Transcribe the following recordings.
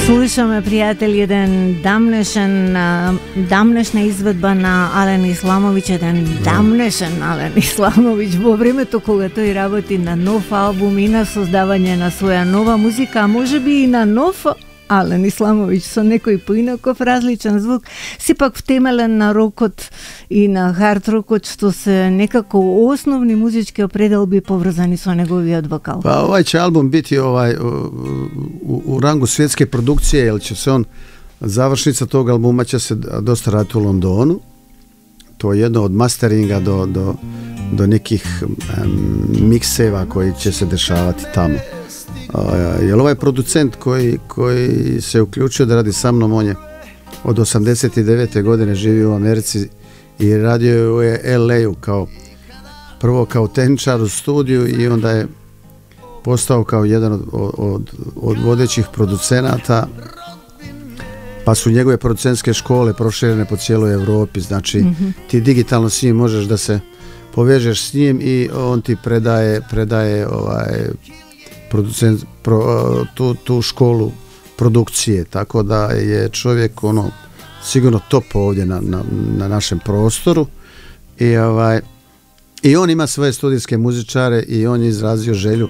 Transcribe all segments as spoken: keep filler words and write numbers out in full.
Слушаме, пријатели, еден дамнешен, дамнешна изведба на Ален Исламовиќ, еден дамнешен Ален Исламовиќ во времето кога тој работи на нов албум и на создавање на своја нова музика, а можеби и на нов Ален Исламовиќ со некој поинаков различен звук, сепак втемелен на рокот и на хард рокот, што се некако основни музички определби поврзани со неговиот вокал. Па овај ќе албум бити овај у, у рангу светске продукcije, jer će se on, završnica tog albuma će se dosta raditi u Londonu. To je jedno od masteringa do, do, do nekih um, mikseva koji će se dešavati tamo. Uh, jer ovaj producent koji, koji se uključio da radi sa mnom, on je od osamdeset devete godine živio u Americi i radio je u L A-u kao prvo kao tehničar u studiju i onda je postao kao jedan od, od, od vodećih producenata, pa su njegove producentske škole proširene po cijeloj Evropi, znači mm-hmm. ti digitalno s njim možeš da se povežeš s njim i on ti predaje, predaje ovaj producent, pro, tu, tu školu produkcije, tako da je čovjek ono sigurno top ovdje na, na, na našem prostoru i ovaj i on ima svoje studijske muzičare i on je izrazio želju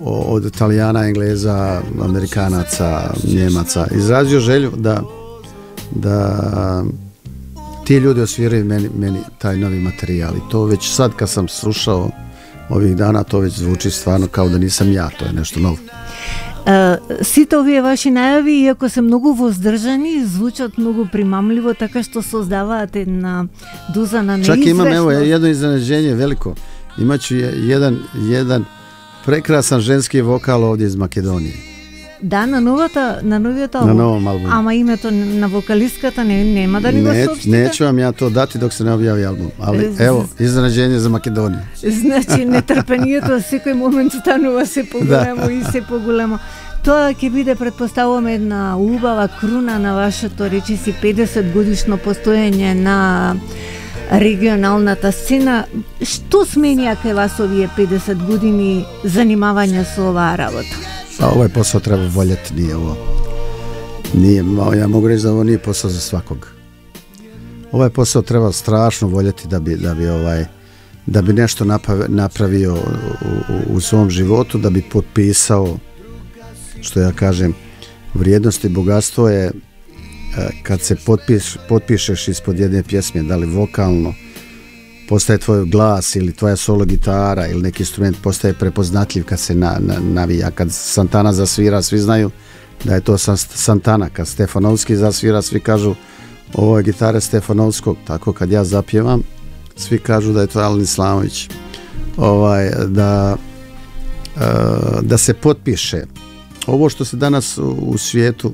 od Italijana, Engleza, Amerikanaca, Njemaca, izrazio želju da da ti ljudi osviraju meni, meni taj novi materijal i to već sad kad sam slušao ovih dana, to već zvuči stvarno kao da nisam ja, to je nešto novo. Uh, сите овие ваши најави, иако се многу воздржани, звучат многу примамливо, така што создаваат една доза на неизвестност. Чак имам, evo, jedno iznenađenje veliko. Imaću jedan, jedan прекрасен женски вокал овде из Македонија. Да, на новата, на новиот албум. На новом албуму. Ама името на вокалистката не нема да ни го соопштите? Неću vam ja to dati dok se ne objavi album, ali evo, iznenađenje za Македонија. Значи, нетрпението секој момент станува се поголемо и се поголемо. Тоа ќе биде, предпоставуваме, една убава круна на вашето, речиси, педесет годишно постоење на регионалната сцена. Што сменија кај вас овие педесет години занимавање со оваа работа? Pa ovaj posao treba voljeti, nije ovo. Nije, ja mogu reći da ovo nije posao za svakog. Ovaj posao treba strašno voljeti da bi, da bi, ovaj, da bi nešto napravio u, u, u svom životu, da bi potpisao, što ja kažem, vrijednost i bogatstvo je kad se potpiš, potpišeš ispod jedne pjesme, da li vokalno, postaje tvoj glas ili tvoja solo gitara ili neki instrument postaje prepoznatljiv kad se na, na, navija. Kad Santana zasvira, svi znaju da je to Santana. Kad Stefanovski zasvira, svi kažu ovo je gitara Stefanovskog. Tako kad ja zapjevam, svi kažu da je to Alen Islamović. Ovaj, da, da se potpiše. Ovo što se danas u, u svijetu,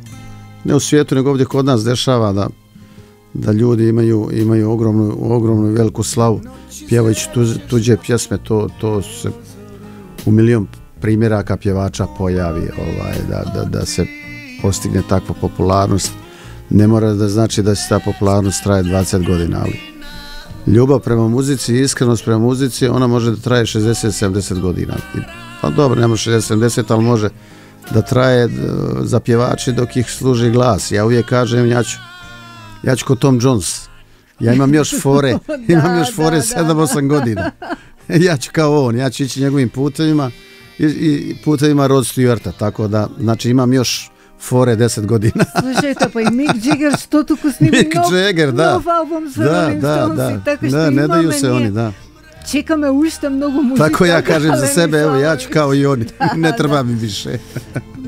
ne u svijetu nego ovdje kod nas dešava, da da ljudi imaju imaju ogromnu ogromnu i veliku slavu pjevajući tuđe, tuđe pjesme, to to se u milion primjeraka pjevača pojavi, ovaj da, da, da se postigne takva popularnost. Ne mora da znači da se ta popularnost traje dvadeset godina, ali ljubav prema muzici i iskrenost prema muzici, ona može da traje šezdeset sedamdeset godina. Pa dobro, nema šezdeset sedamdeset, ali može da traje za pjevači dok ih služi glas. Ja uvijek kažem, ja ću Ja ću ko Tom Jones. Ja imam još fore, da, imam još fore sedam osam godina. Ja ću kao on, ja ću ići njegovim putevima i, i putevima Rod Stewarta, tako da, znači imam još fore deset godina. Slušajte, pa i Mick Jagger što tuku snimi Mick nov, Jagger, da. nov album sa da, Rolling da, Stones, da, tako što da, ne daju se nije. oni, da. Čekame ušte mnogo muzika. Tako ja kažem za sebe, evo ja ću kao i oni, da, ne treba mi više.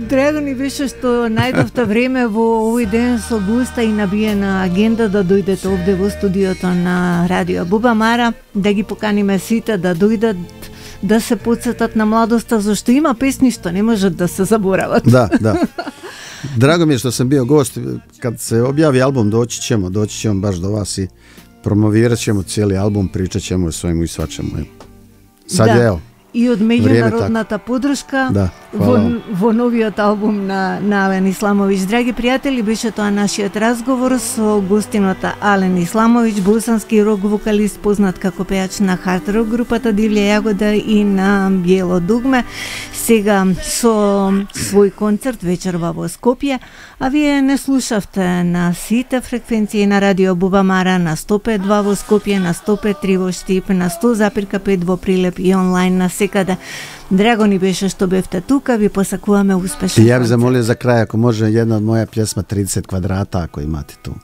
Драго ни беше што најдовте време во овој ден со густа и набиена агенда да дојдете овде во студиото на Радио Буба Мара, да ги поканиме сите да дојдат да се потсетат на младоста, зашто има песни што не можат да се заборават. Да, да. Drago mi je što sam bio gost, kad se objavi album doći ćemo, doći ćemo baš do vas i promovirat ćemo cijeli album, pričat ćemo o svemu i svačemu. Sad da. je evo. и од меѓународната подршка да, во, во новиот албум на, на Ален Исламович. Драги пријатели, беше тоа нашиот разговор со гостинот Ален Исламович, босански рок вокалист, познат како пејач на хард рок групата Дивља јагода и на Биело дугме. Сега со свој концерт вечерва во Скопје, а вие не слушавте на сите фреквенции на Радио Бубамара, на сто пет два во Скопје, на сто пет три во Штип, на сто запирка пет во Прилеп и онлайн на секаде. Драго ни беше што бевте тука, ви посакуваме успешен концерт. Ја би замолил за крај, ако може, една од моја пјесма тридесет квадрата, ако имате ту.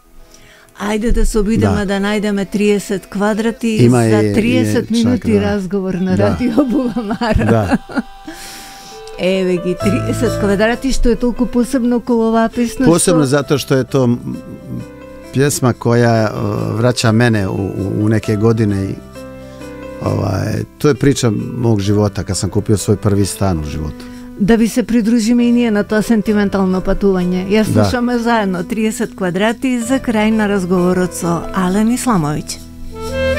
Ајде да се обидеме да, да најдеме триесет квадрати Има за триесет и, минути чак, да. разговор на да. Радио Бубамара. Да. Еве ги триесет квадрати, што е толку посебно околу оваа песна? Посебно што... затоа што е тоа пјесма која враќа мене у, у неке години и Ова, тоа е прича мог живота, кога сам купил свој први стан у животот. Да ви се придружиме и ние на тоа сентиментално патување. Ја слушаме да. заедно триесет квадрати за крај на разговорот со Ален Исламович.